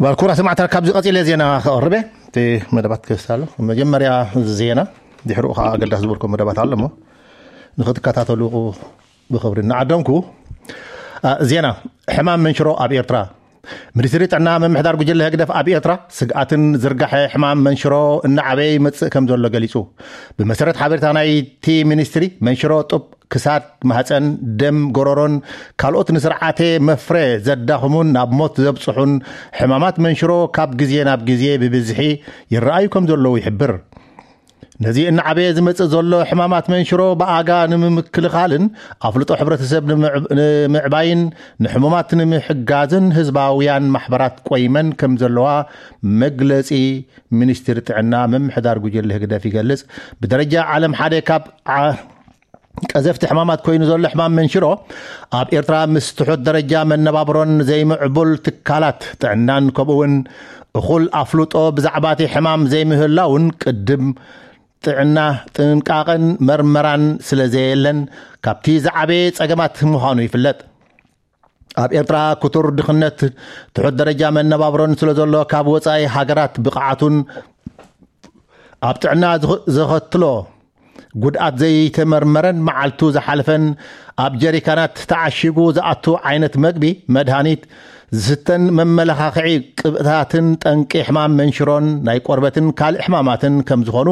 ባልኩራ ሰማዕታ፣ ካብዚ ቀጺለ ዜና ከቕርበ እቲ መደባት ክስታሎ። መጀመርያ ዜና፣ ድሕሪኡ ከዓ ኣገዳሲ ዝበልኮ መደባት ኣሎ እሞ ንክትከታተሉ ብኽብሪ እናዓደምኩ። ዜና። ሕማም መንሽሮ ኣብ ኤርትራ። ሚኒስትሪ ጥዕና ምምሕዳር ጉጅለ ህግደፍ ኣብ ኤርትራ ስግኣትን ዝርጋሐ ሕማም መንሽሮ እናዓበየ ይመጽእ ከም ዘሎ ገሊጹ። ብመሰረት ሓበሬታ ናይቲ ሚኒስትሪ፣ መንሽሮ ጡብ፣ ክሳድ፣ ማህፀን፣ ደም፣ ጎረሮን ካልኦት ንስርዓተ መፍረ ዘዳኽሙን ናብ ሞት ዘብጽሑን ሕማማት መንሽሮ ካብ ግዜ ናብ ግዜ ብብዝሒ ይረኣዩ ከም ዘለዉ ይሕብር። ነዚ እናዓበየ ዝመጽእ ዘሎ ሕማማት መንሽሮ ብኣጋ ንምምክልኻልን ኣፍልጦ ሕብረተሰብ ንምዕባይን ንሕሙማት ንምሕጋዝን ህዝባውያን ማሕበራት ቆይመን ከም ዘለዋ መግለጺ ሚኒስትሪ ጥዕና ምምሕዳር ጉጅለ ህግደፍ ይገልጽ። ብደረጃ ዓለም ሓደ ካብ ቀዘፍቲ ሕማማት ኮይኑ ዘሎ ሕማም መንሽሮ ኣብ ኤርትራ ምስ ትሑት ደረጃ መነባብሮን ዘይምዕቡል ትካላት ጥዕናን ከምኡውን እኹል ኣፍልጦ ብዛዕባቲ ሕማም ዘይምህላውን ቅድም ጥዕና ጥንቃቐን መርመራን ስለ ዘየለን ካብቲ ዝዓበየ ጸገማት ምዃኑ ይፍለጥ። ኣብ ኤርትራ ክቱር ድኽነት ትሑት ደረጃ መነባብሮን ስለ ዘሎ ካብ ወጻኢ ሃገራት ብቕዓቱን ኣብ ጥዕና ዘኸትሎ ጉድኣት ዘይተመርመረን መዓልቱ ዝሓለፈን ኣብ ጀሪካናት ተዓሺጉ ዝኣቱ ዓይነት መግቢ፣ መድሃኒት፣ ዝስተን መመለኻኽዒ ቅብእታትን ጠንቂ ሕማም መንሽሮን ናይ ቆርበትን ካልእ ሕማማትን ከም ዝኾኑ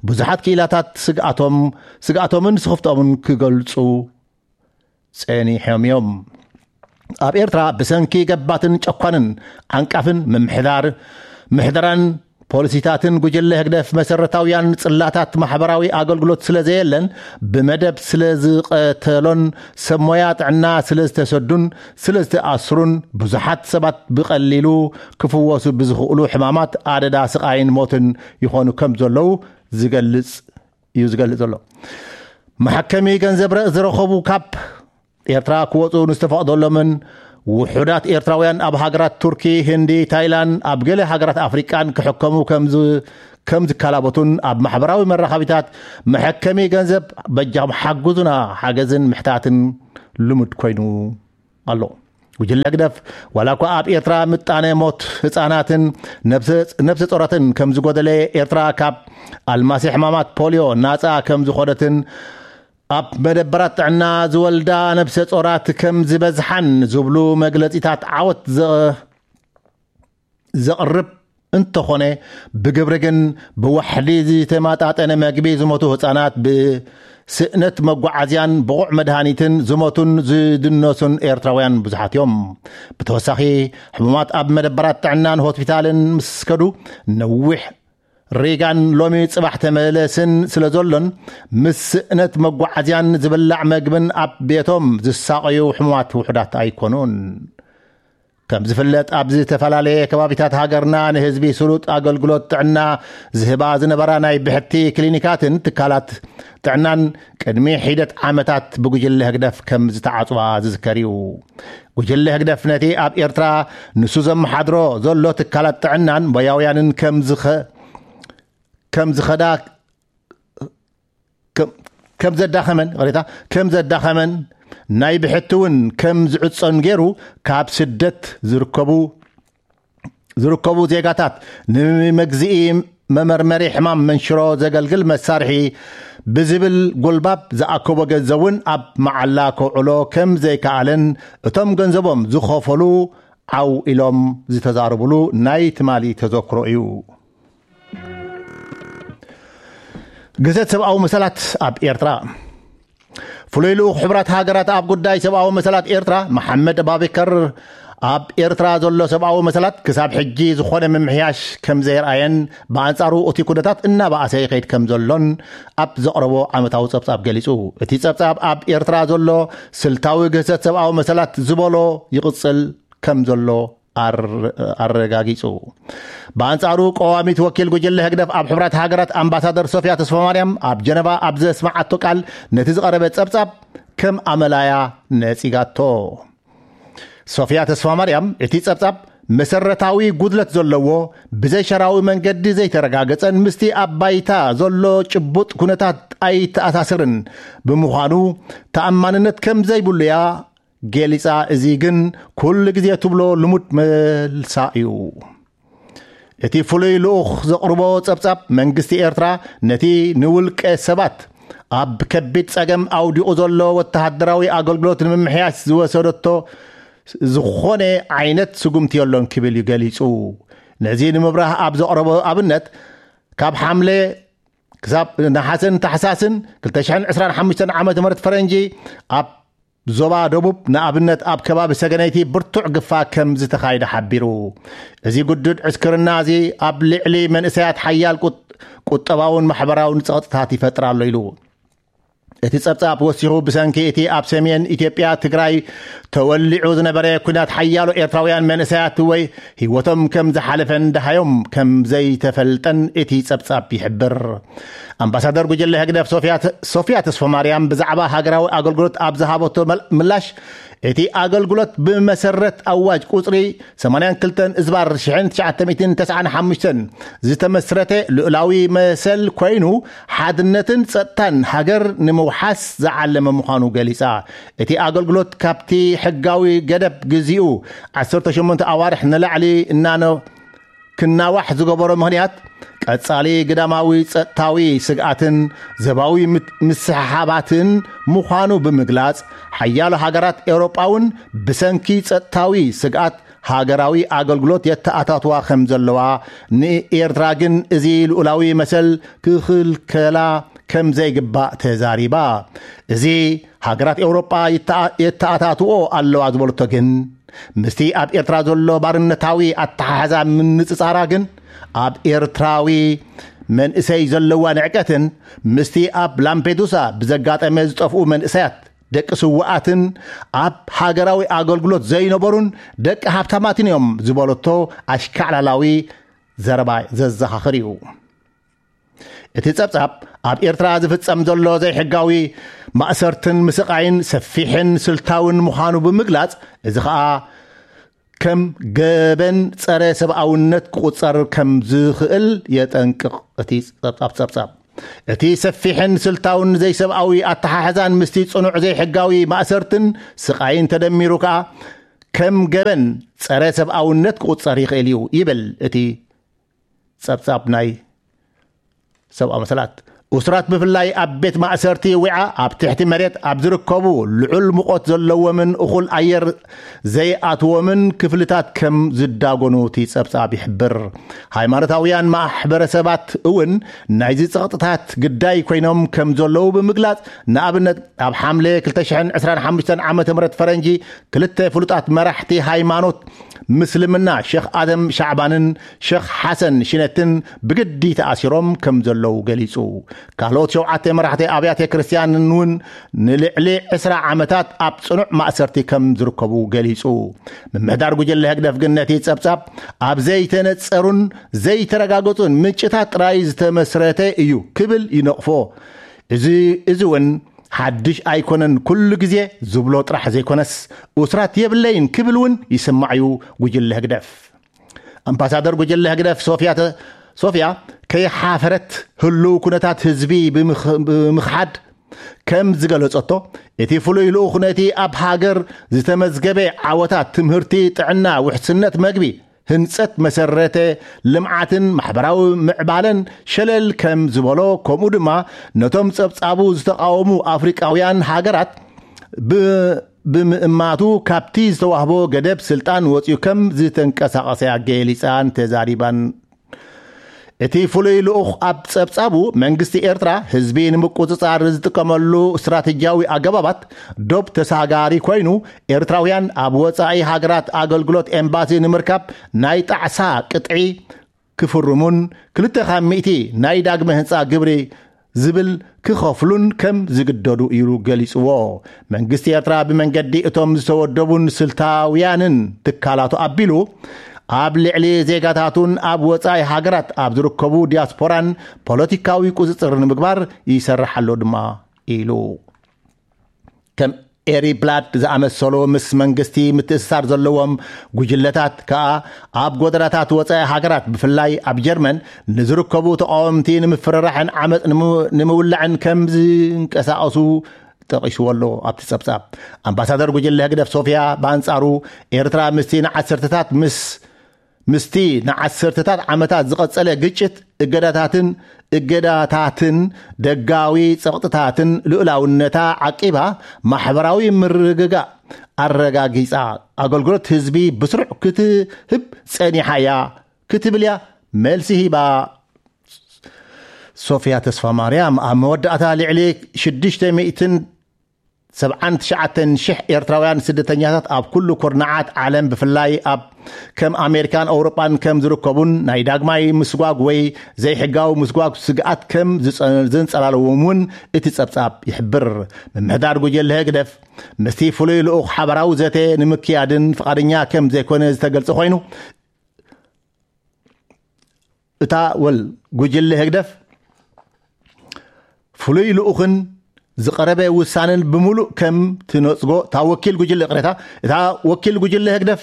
ብዙሓት ክኢላታት ስግኣቶም ስግኣቶምን ስኽፍቶምን ክገልጹ ጸኒሖም እዮም። ኣብ ኤርትራ ብሰንኪ ገባትን ጨኳንን ዓንቃፍን ምምሕዳር ምሕደራን ፖሊሲታትን ጉጅለ ህግደፍ መሰረታውያን ጽላታት ማሕበራዊ ኣገልግሎት ስለ ዘየለን ብመደብ ስለ ዝቐተሎን ሰብ ሞያ ጥዕና ስለ ዝተሰዱን ስለ ዝተኣስሩን ብዙሓት ሰባት ብቐሊሉ ክፍወሱ ብዝኽእሉ ሕማማት ኣደዳ ስቓይን ሞትን ይኾኑ ከም ዘለዉ ዝገልጽ እዩ ዝገልጽ ዘሎ። መሐከሚ ገንዘብ ዝረኸቡ ካብ ኤርትራ ክወፁ ንዝተፈቕደሎምን ውሑዳት ኤርትራውያን ኣብ ሃገራት ቱርኪ፣ ህንዲ፣ ታይላንድ፣ ኣብ ገለ ሃገራት ኣፍሪቃን ክሕከሙ ከም ዝከላበቱን ኣብ ማሕበራዊ መራኸቢታት መሐከሚ ገንዘብ በጃኹም ሓግዙና ሓገዝን ምሕታትን ልሙድ ኮይኑ ኣሎ። ጉጅለ ህግደፍ ዋላ እኳ ኣብ ኤርትራ ምጣነ ሞት ህፃናትን ነብሰ ጾራትን ከም ዝጎደለ፣ ኤርትራ ካብ ኣልማሲ ሕማማት ፖሊዮ ናፃ ከም ዝኾነትን ኣብ መደበራት ጥዕና ዝወልዳ ነብሰ ጾራት ከም ዝበዝሓን ዝብሉ መግለጺታት ዓወት ዘቕርብ እንተኾነ፣ ብግብሪ ግን ብዋሕዲ ዝተማጣጠነ መግቢ ዝሞቱ ህጻናት፣ ብስእነት መጓዓዝያን ብቑዕ መድሃኒትን ዝሞቱን ዝድነሱን ኤርትራውያን ብዙሓት እዮም። ብተወሳኺ፣ ሕሙማት ኣብ መደበራት ጥዕናን ሆስፒታልን ምስ ከዱ፣ ነዊሕ ሪጋን ሎሚ ጽባሕ ተመለስን ስለ ዘሎን፣ ምስ ስእነት መጓዓዝያን ዝብላዕ መግብን ኣብ ቤቶም ዝሳቐዩ ሕሙማት ውሑዳት ኣይኮኑን። ከም ዝፍለጥ፣ ኣብ ዝተፈላለየ ከባቢታት ሃገርና ንህዝቢ ስሉጥ ኣገልግሎት ጥዕና ዝህባ ዝነበራ ናይ ብሕቲ ክሊኒካትን ትካላት ጥዕናን ቅድሚ ሒደት ዓመታት ብጉጅለ ህግደፍ ከም ዝተዓጽዋ ዝዝከር እዩ። ጉጅለ ህግደፍ ነቲ ኣብ ኤርትራ ንሱ ዘመሓድሮ ዘሎ ትካላት ጥዕናን ሞያውያንን ከም ዝኸ-፣ ከም ዝኸዳ ከም ዘዳኸመን፣ ይቕሬታ፣ ከም ዘዳኸመን፣ ናይ ብሕቲ እውን ከም ዝዕጾን ገይሩ፣ ካብ ስደት ዝርከቡ ዝርከቡ ዜጋታት ንመግዚኢ መመርመሪ ሕማም መንሽሮ ዘገልግል መሳርሒ ብዝብል ጎልባብ ዝኣከቦ ገንዘብ እውን ኣብ መዓላ ከውዕሎ ከም ዘይከኣለን እቶም ገንዘቦም ዝኸፈሉ ዓው ኢሎም ዝተዛረብሉ ናይ ትማሊ ተዘክሮ እዩ። ግህሰት ሰብኣዊ መሰላት ኣብ ኤርትራ። ፍሉይ ልኡኽ ሕቡራት ሃገራት ኣብ ጉዳይ ሰብኣዊ መሰላት ኤርትራ መሓመድ ኣባቤከር፣ ኣብ ኤርትራ ዘሎ ሰብኣዊ መሰላት ክሳብ ሕጂ ዝኾነ ምምሕያሽ ከም ዘየርኣየን፣ ብኣንጻሩ እቲ ኩነታት እናበኣሰ ይኸይድ ከም ዘሎን ኣብ ዘቕረቦ ዓመታዊ ጸብጻብ ገሊጹ። እቲ ጸብጻብ ኣብ ኤርትራ ዘሎ ስልታዊ ግህሰት ሰብኣዊ መሰላት ዝበሎ ይቕጽል ከም ዘሎ ኣር-፣ ኣረጋጊጹ። ብኣንጻሩ፣ ቀዋሚት ወኪል ጉጅለ ህግደፍ ኣብ ሕቡራት ሃገራት ኣምባሳደር ሶፊያ ተስፋማርያም ኣብ ጀነቫ ኣብ ዘስመዓቶ ቃል፣ ነቲ ዝቐረበ ጸብጻብ ከም ኣመላያ ነጺጋቶ። ሶፊያ ተስፋማርያም፣ እቲ ጸብጻብ መሰረታዊ ጉድለት ዘለዎ፣ ብዘይሸራዊ መንገዲ ዘይተረጋገጸን ምስቲ ኣብ ባይታ ዘሎ ጭቡጥ ኩነታት ኣይተኣሳስርን ብምዃኑ፣ ተኣማንነት ከም ዘይብሉ እያ ገሊጻ። እዚ ግን ኩሉ ግዜ ትብሎ ልሙድ መልሳ እዩ። እቲ ፍሉይ ልኡኽ ዘቕርቦ ጸብጻብ፣ መንግስቲ ኤርትራ ነቲ ንውልቀ ሰባት ኣብ ከቢድ ጸገም ኣውዲቑ ዘሎ ወተሃደራዊ ኣገልግሎት ንምምሕያሽ ዝወሰደቶ ዝኾነ ዓይነት ስጉምቲ የሎን ክብል እዩ ገሊጹ። ነዚ ንምብራህ ኣብ ዘቕረቦ ኣብነት፣ ካብ ሓምለ ክሳብ ነሓሰን ታሕሳስን ክልተ ሽሕን ዕስራን ሓሙሽተን ዓመተ ምህረት ፈረንጂ ኣብ ዞባ ደቡብ፣ ንኣብነት ኣብ ከባቢ ሰገነይቲ፣ ብርቱዕ ግፋ ከም ዝተኻየደ ሓቢሩ። እዚ ግዱድ ዕስክርና እዚ ኣብ ልዕሊ መንእሰያት ሓያል ቁጥ-፣ ቁጠባውን ማሕበራውን ጸቕጥታት ይፈጥር ኣሎ ኢሉ። እቲ ጸብጻብ ወሲኹ፣ ብሰንኪ እቲ ኣብ ሰሜን ኢትዮጵያ ትግራይ ተወሊዑ ዝነበረ ኲናት ሓያሎ ኤርትራውያን መንእሰያት ወይ ህይወቶም ከም ዝሓለፈን ደሃዮም ከም ዘይተፈልጠን እቲ ጸብጻብ ይሕብር። ኣምባሳደር ጉጅለ ህግደፍ ሶፊያ ተ-፣ ሶፊያ ተስፋማርያም ብዛዕባ ሃገራዊ ኣገልግሎት ኣብ ዝሃበቶ መል-፣ ምላሽ፣ እቲ ኣገልግሎት ብመሰረት ኣዋጅ ቁጽሪ ሰማንያን ክልተን እዝባር ሽሕን ትሽዓተ ሚእትን ተስዓን ሓሙሽተን ዝተመስረተ ልኡላዊ መሰል ኮይኑ፣ ሓድነትን ጸጥታን ሃገር ንምውሓስ ዝዓለመ ምዃኑ ገሊጻ። እቲ ኣገልግሎት ካብቲ ሕጋዊ ገደብ ግዜኡ ዓሰርተ ሸሞንተ ኣዋርሕ ንላዕሊ እናነ-፣ ክናዋሕ ዝገበሮ ምኽንያት፣ ቀጻሊ ግዳማዊ ጸጥታዊ ስግኣትን ዘባዊ ምት-፣ ምስሕሓባትን ምዃኑ ብምግላጽ፣ ሓያሎ ሃገራት ኤውሮጳ እውን ብሰንኪ ጸጥታዊ ስግኣት ሃገራዊ ኣገልግሎት የተኣታትዋ ከም ዘለዋ፣ ንኤርትራ ግን እዚ ልኡላዊ መሰል ክኽልከላ ከም ዘይግባእ ተዛሪባ። እዚ ሃገራት ኤውሮጳ ይተኣ-፣ የተኣታትዎ ኣለዋ ዝበለቶ ግን፣ ምስቲ ኣብ ኤርትራ ዘሎ ባርነታዊ ኣተሓሕዛ ምንጽጻራ ግን፣ ኣብ ኤርትራዊ መንእሰይ ዘለዋ ንዕቀትን ምስቲ ኣብ ላምፔዱሳ ብዘጋጠመ ዝጠፍኡ መንእሰያት ደቂ ስውኣትን ኣብ ሃገራዊ ኣገልግሎት ዘይነበሩን ደቂ ሃብታማትን እዮም ዝበለቶ ኣሽካዕላላዊ ዘረባ ዘዘኻኽር እዩ። እቲ ጸብጻብ ኣብ ኤርትራ ዝፍጸም ዘሎ ዘይሕጋዊ ማእሰርትን ምስቓይን ሰፊሕን ስልታውን ምዃኑ ብምግላጽ፣ እዚ ኸኣ ከም ገበን ጸረ ሰብኣውነት ክቑጸር ከም ዝኽእል የጠንቅቕ። እቲ ጸብጻብ ጸብጻብ እቲ ሰፊሕን ስልታውን ዘይሰብኣዊ ኣተሓሕዛን ምስቲ ጽኑዕ ዘይሕጋዊ ማእሰርትን ስቓይን ተደሚሩ ከኣ ከም ገበን ጸረ ሰብኣውነት ክቑጸር ይኽእል እዩ ይብል እቲ ጸብጻብ ናይ ሰብኣዊ መሰላት። እሱራት ብፍላይ ኣብ ቤት ማእሰርቲ ዊዓ ኣብ ትሕቲ መሬት ኣብ ዝርከቡ ልዑል ሙቐት ዘለዎምን እኹል ኣየር ዘይኣትዎምን ክፍልታት ከም ዝዳጎኑ እቲ ጸብጻብ ይሕብር። ሃይማኖታውያን ማሕበረሰባት እውን ናይዚ ጸቕጥታት ግዳይ ኮይኖም ከም ዘለዉ ብምግላጽ፣ ንኣብነት ኣብ ሓምለ ክልተ ሽሕን ዕስራን ሓሙሽተን ዓመተ ምህረት ፈረንጂ ክልተ ፍሉጣት መራሕቲ ሃይማኖት ምስልምና ሸኽ ኣደም ሻዕባንን ሸኽ ሓሰን ሽነትን ብግዲ ተኣሲሮም ከም ዘለዉ ገሊጹ። ካልኦት ሸውዓተ መራሕቲ ኣብያተ ክርስትያንን እውን ንልዕሊ ዕስራ ዓመታት ኣብ ጽኑዕ ማእሰርቲ ከም ዝርከቡ ገሊጹ። ምምሕዳር ጉጅለ ህግደፍ ግን ነቲ ጸብጻብ ኣብ ዘይተነጸሩን ዘይተረጋገጹን ምንጭታት ጥራይ ዝተመስረተ እዩ ክብል ይነቕፎ። እዚ፣ እዚ እውን ሓድሽ ኣይኮነን፣ ኩሉ ግዜ ዝብሎ ጥራሕ ዘይኮነስ፣ እሱራት የብለይን ክብል እውን ይስማዕ እዩ ጉጅለ ህግደፍ። ኣምባሳደር ጉጅለ ህግደፍ ሶፍያ ተ-፣ ሶፍያ ከይሓፈረት ህሉው ኩነታት ህዝቢ ብምኽ-፣ ብምኽሓድ ከም ዝገለጸቶ፣ እቲ ፍሉይ ልኡኽ ነቲ ኣብ ሃገር ዝተመዝገበ ዓወታት ትምህርቲ፣ ጥዕና፣ ውሕስነት መግቢ፣ ህንጸት መሰረተ ልምዓትን ማሕበራዊ ምዕባለን ሸለል ከም ዝበሎ፣ ከምኡ ድማ ነቶም ጸብጻቡ ዝተቓወሙ ኣፍሪቃውያን ሃገራት ብ-፣ ብምእማቱ፣ ካብቲ ዝተዋህቦ ገደብ ስልጣን ወጺኡ ከም ዝተንቀሳቐሰ ገሊጻን ተዛሪባን። እቲ ፍሉይ ልኡኽ ኣብ ጸብጻቡ፣ መንግስቲ ኤርትራ ህዝቢ ንምቁጽጻር ዝጥቀመሉ ስትራቴጂያዊ ኣገባባት ዶብ ተሳጋሪ ኮይኑ፣ ኤርትራውያን ኣብ ወጻኢ ሃገራት ኣገልግሎት ኤምባሲ ንምርካብ ናይ ጣዕሳ ቅጥዒ ክፍርሙን ክልተ ካብ ሚእቲ ናይ ዳግመ ህንጻ ግብሪ ዝብል ክኸፍሉን ከም ዝግደዱ ኢሉ ገሊጽዎ። መንግስቲ ኤርትራ ብመንገዲ እቶም ዝተወደቡን ስልታውያንን ትካላቱ ኣቢሉ፣ ኣብ ልዕሊ ዜጋታቱን ኣብ ወጻኢ ሃገራት ኣብ ዝርከቡ ዲያስፖራን ፖለቲካዊ ቁጽጽር ንምግባር ይሰርሕ ኣሎ ድማ ኢሉ። ከም ኤሪ ብላድ ዝኣመሰሉ ምስ መንግስቲ ምትእስሳር ዘለዎም ጉጅለታት ከኣ ኣብ ጎደናታት ወጻኢ ሃገራት፣ ብፍላይ ኣብ ጀርመን፣ ንዝርከቡ ተቃወምቲ ንምፍርራሕን ዓመጽ ንምው-፣ ንምውላዕን ከም ዝንቀሳቐሱ ጠቒስዎ ኣሎ ኣብቲ ጸብጻብ። ኣምባሳደር ጉጅለ ህግደፍ ሶፍያ ብኣንጻሩ፣ ኤርትራ ምስቲ ንዓሰርተታት ምስ ምስቲ ንዓሰርተታት ዓመታት ዝቐጸለ ግጭት፣ እገዳታትን እገዳታትን ደጋዊ ጸቕጥታትን ልኡላውነታ ዓቂባ፣ ማሕበራዊ ምርግጋእ ኣረጋጊጻ፣ ኣገልግሎት ህዝቢ ብስሩዕ ክትህብ ጸኒሓ እያ ክትብል እያ መልሲ ሂባ። ሶፍያ ተስፋ ማርያም ኣብ መወዳእታ፣ ልዕሊ ሽዱሽተ ሚእትን ሰብዓን ትሽዓተን ሽሕ ኤርትራውያን ስደተኛታት ኣብ ኩሉ ኩርናዓት ዓለም፣ ብፍላይ ኣብ ከም ኣሜሪካን ኣውሮጳን ከም ዝርከቡን ናይ ዳግማይ ምስጓግ ወይ ዘይሕጋዊ ምስጓግ ስግኣት ከም ዝጸ- ዘንጸላለዎም እውን እቲ ጸብጻብ ይሕብር። ምምሕዳር ጉጀለ ህግደፍ ምስቲ ፍሉይ ልኡኽ ሓባራዊ ዘተ ንምክያድን ፍቓደኛ ከም ዘይኮነ ዝተገልጸ ኮይኑ፣ እታ ወል ጉጅለ ህግደፍ ፍሉይ ልኡኽን ዝቐረበ ውሳነን ብምሉእ ከም ትነጽጎ፣ እታ ወኪል ጉጅለ፣ ቅሬታ፣ እታ ወኪል ጉጅለ ህግደፍ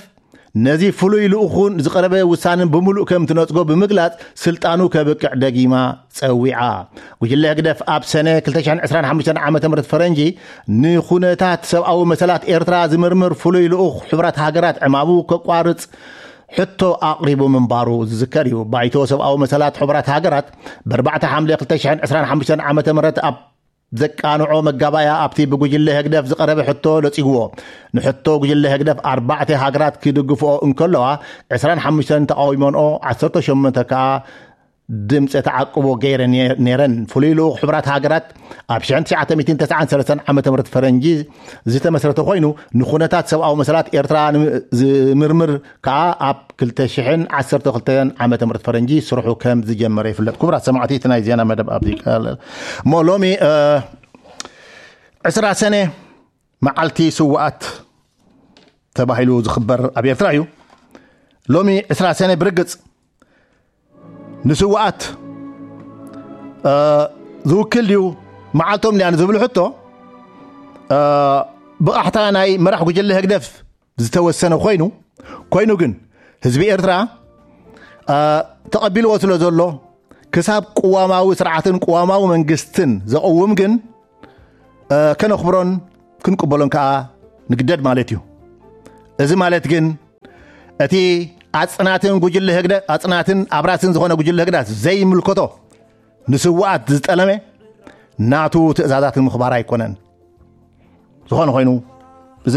ነዚ ፍሉይ ልኡኹን ዝቐረበ ውሳነን ብምሉእ ከም ትነጽጎ ብምግላጽ፣ ስልጣኑ ከብቅዕ ደጊማ ጸዊዓ። ጉጅለ ህግደፍ ኣብ ሰነ ክልተ ሽሕን ዕስራን ሓሙሽተን ዓመተ ምህረት ፈረንጂ ንኹነታት ሰብኣዊ መሰላት ኤርትራ ዝምርምር ፍሉይ ልኡኽ ሕቡራት ሃገራት ዕማሙ ከቋርጽ ሕቶ ኣቕሪቡ ምንባሩ ዝዝከር እዩ። ባይቶ ሰብኣዊ መሰላት ሕቡራት ሃገራት ብኣርባዕተ ሓምለ ክልተ ሽሕን ዕስራን ሓሙሽተን ዓመተ ምህረት ኣብ ዘቃንዖ መጋባያ ኣብቲ ብጉጅለ ህግደፍ ዝቐረበ ሕቶ ለጺግዎ። ንሕቶ ጉጅለ ህግደፍ ኣርባዕተ ሃገራት ክድግፍኦ እንከለዋ፣ ዕስራን ሓሙሽተን ተቓዊሞንኦ፣ ዓሰርተ ሸሞንተ ከኣ ድምፀ ተዓቅቦ ገይረ ነይረን። ፍሉይ ልኡኽ ሕቡራት ሃገራት ኣብ ሽሕን ትሽዓተ ሚእትን ተስዓን ሰለስተን ዓመተ ምህረት ፈረንጂ ዝተመስረተ ኮይኑ፣ ንኩነታት ሰብኣዊ መሰላት ኤርትራ ዝምርምር ከኣ ኣብ ክልተ ሽሕን ዓሰርተ ክልተን ዓመተ ምህረት ፈረንጂ ስርሑ ከም ዝጀመረ ይፍለጥ። ክቡራት ሰማዕቲ፣ እቲ ናይ ዜና መደብ ኣብዚ ይቃለል። እሞ ሎሚ ዕስራ ሰነ መዓልቲ ስውኣት ተባሂሉ ዝኽበር ኣብ ኤርትራ እዩ። ሎሚ ዕስራ ሰነ ብርግጽ ንስውኣት ዝውክል ድዩ መዓልቶም ድያ ንዝብል ሕቶ፣ ብቓሕታ ናይ መራሕ ጉጅለ ህግደፍ ዝተወሰነ ኮይኑ፣ ኮይኑ ግን ህዝቢ ኤርትራ ተቐቢልዎ ስለ ዘሎ፣ ክሳብ ቅዋማዊ ስርዓትን ቅዋማዊ መንግስትን ዘቕውም ግን ከነኽብሮን ክንቅበሎን ከኣ ንግደድ ማለት እዩ። እዚ ማለት ግን እቲ ኣጽናትን ጉጅለ ህግደ ኣጽናትን ኣብራስን ዝኾነ ጉጅለ ህግዳት ዘይምልከቶ ንስውኣት ዝጠለመ ናቱ ትእዛዛት ንምኽባር ኣይኮነን። ዝኾነ ኮይኑ እዚ